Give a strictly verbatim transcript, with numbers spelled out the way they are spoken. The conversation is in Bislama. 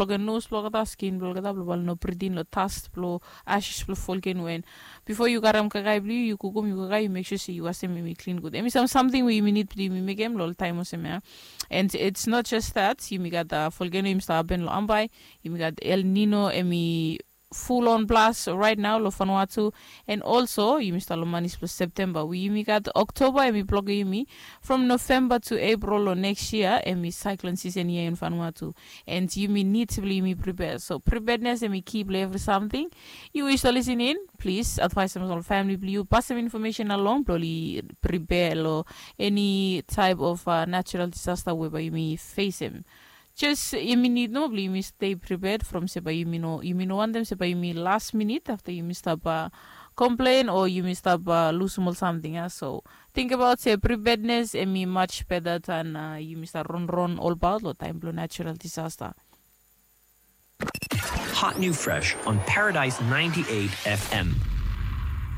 blong nos blong olgeta, skin blong olgeta, blong bae oli no brit in long dust blong ashes blong volkeno. And bifo yu karem kakae blong yu, yu kukum, yu kakae, yu mek sua se yu wasem hem i klin gud. Hem i sam samting we yumi nid blong yumi mekem long ol taem olsem ya. And it's not just that, yumi gat volkeno yumi stap hapen long Ambae, yumi gat El Nino, hem i full on blast right now long Vanuatu. And also yumi stap long manis blong Septemba, we yumi gat Oktoba, hem i blokam yumi from Novemba to April long next year, hem i cyclone season ia in Vanuatu. And yumi nid blong yumi prepare. So preparedness hem i key blong evri samting. Yu we yu stap lisin in, plis advaesem ol famili blong yu, pasem infomesen along blong oli prepare long eni taep of natural disasta we bae yumi fesem. Jes yumi nid nomo blong yumi stay prepared from se bae yumi no, yumi no wantem se bae yumi last minute afta yumi stap komplen o yumi stap lusum ol samting ya. So tingbaot se preparedness hem i much better than yumi stap ronron olbaot long taem blong natural disasta. Hot new fresh on Paradise ninety-eight F M.